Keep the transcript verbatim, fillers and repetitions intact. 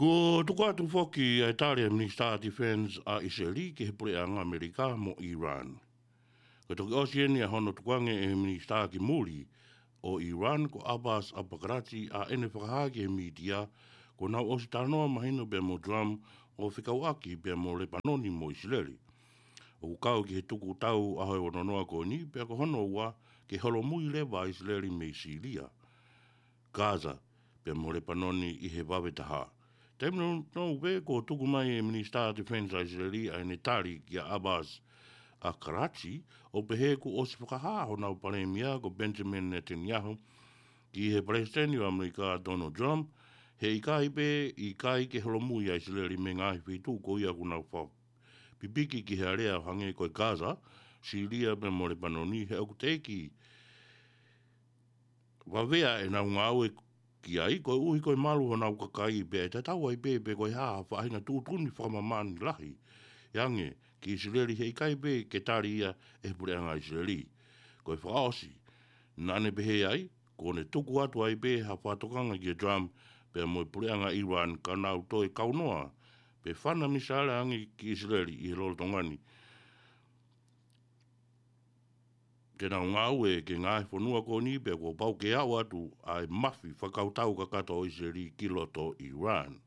Kuo tuku atu foki ʻa e tali ʻa e Minisitā Defense ʻa ʻIsileli ki he puleʻanga ʻAmelika mo ʻIran. Ko e toki ʻosi eni ʻa hono tukuange ʻe he Minisitā ki muli ʻo ʻIran ko Abbas Araghchi ʻa ʻene fakahā ki he mītia kuo nau ʻosi talanoa mahino pea mo Trump ʻo fekauʻaki pea mo Lepanoni mo ʻIsileli. ʻOku kau ki he tukutau ʻaho ʻe ono noa ko eni pea ko hono ua ke holomui leva ʻa ʻIsileli mei Sīlia, Gaza, pea mo Lepanoni ʻi he vave taha. Taimi nounou pē kuo tuku mai ʻe he Minisitā Defense ʻa ʻIsileli ʻa ʻene tali kia Abbas Araghchi ʻo pehē kuo ʻosi fakahā honau palēmia ko Benjamin Netanyahu ki he Palesiteni ʻo ʻAmelika Donald Trump, he ʻikai pē, ʻikai ke holomui ʻa ʻIsileli mei he ngaahi feituʻu ko ia ʻoku nau fakapipiki ki he alea ʻo hangē ko e Gaza, Sīlia pea mo Lepanoni, he ʻoku teʻeki vavea ʻenau ngāue ki ai, koeʻuhi ko e malu honau kakai pea ʻe tatau ai pē pe ko e hā ha faʻahinga tuʻutuʻuni fakamāmani lahi ʻe ange ki ʻIsileli, he ʻikai pē ke tali ia ʻe he puleʻanga ʻIsileli. Ko e fakaʻosi, naʻa ne pehē ai, kuo ne tuku atu ai pē ha fakatokanga kia Trump pea mo e puleʻanga ʻIran ka nau toe kaunoa pe fana misaila ange ki ʻIsileli ʻi he lolotonga ni ke nau ngāue ki he ngaahi fonua ko eni pea kuo pau ke aʻu atu ʻa e mafi fakakautau kakato ʻo ʻIsileli ki loto ʻIran.